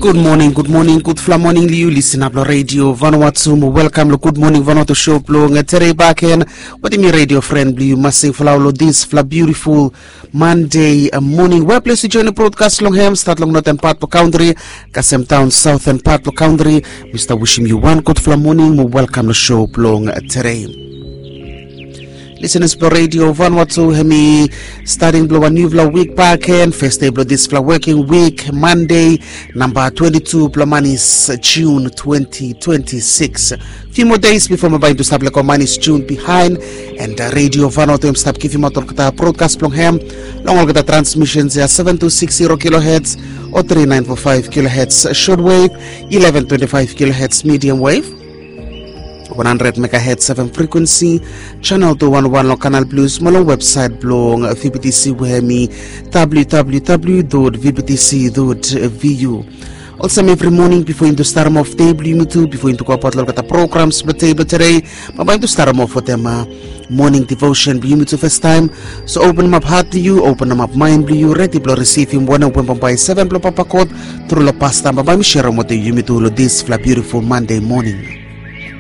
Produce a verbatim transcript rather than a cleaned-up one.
Gud moning, gud moning, gudfala moning long yu lisin ap long Radio Vanuatu. Mo welkam long Gud Moning Vanuatu show blong tere baken. Wetem mi radio fren blong yu Masing Flau long disfala biutiful Monday moning. Weples yu join brodkas long hem stat long noten pat blong kantri kasem daon saoten pat blong kantri. Mi stap wisim yu wan gudfala moning mo welkam long show blong tere. Lisenas blong Radio Vanuatu, hemi stating blong wan niufala wik baken, fes dei blong disfala woking wik, Mande, namba twenti tu blong manis, Jun twenti twenti sikis. Fiu moa deis bifo mi bae yumi tu stap lego manis Jun bihaen, and Radio Vanuatu hemi stap givimaot olgeta brodkas blong hem long olgeta transmisens ya, seven tu sikis zero kilohertz o tri naen fo faef kilohertz shortwave, ileven twenti faef kilohertz medium wave, wan handred megahertz F M frikuensi, chanel tu wan wan long Kanal Plus mo long websaet blong V B T C we hemi W W W dot V B T C dot V U. Olsem evri moning bifo yumi tu starem of dei blong yumi tu, bifo yumi tu gobaot long olgeta programs blong dei blong tere, bae yumi tu starem of wetem moning devotion blong yumi tu fastaem. So openem ap hat blong yu, openem ap maen blong yu, redi blong risivim wanem we bambae seven blong Papa God tru long pastaem bambae mi serem wetem yumi tu long disfala biutiful Mande moning.